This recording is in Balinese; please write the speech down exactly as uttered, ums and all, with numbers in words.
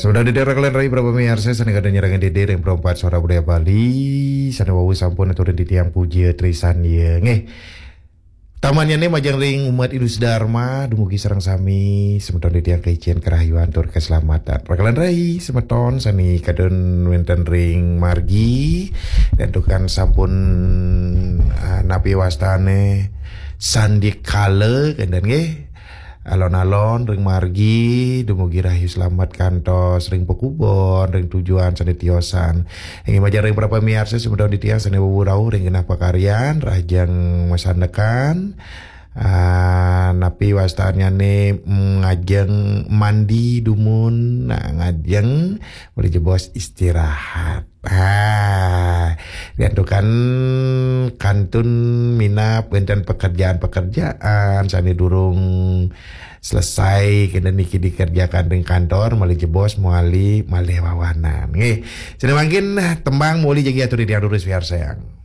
Sebentar dede, rakalan rayi para pamiarsa sané kadén nyarengin dede ring Perempat Suara Budaya Bali, sané wau sampun aturang titiang puja trisandia. Nggih. Tamanyané majeng ring umat Hindu Dharma, dumugi sareng sami semeton titiang kaicén karahayuan tur kaslamatan. Rakalan rayi semeton sané kadén wénten ring margi, santukan sampun, ah, napi wastané sandikala, kénten nggih. Alon-alon ring margi, dumugi rahayu slamet kantos ring pakubon, ring tujuan sané tiosan. Inggih majeng ring para pamiarsa semeton titiang sané wau rauh ring genah pakaryan, rahajeng masandekan. Ah, napi wastanyané, mm, ngajeng mandi dumun, nah, ngajeng, malih jebos istirahat. Ah, santukan kantun minab wénten pekerjaan-pekerjaan sané durung selesai, kénten niki dikerjakan ring kantor, malih jebos, malih, malih wawanan. Nggih, sané mangkin tembang malih jagi atur titiang durus piarsayang.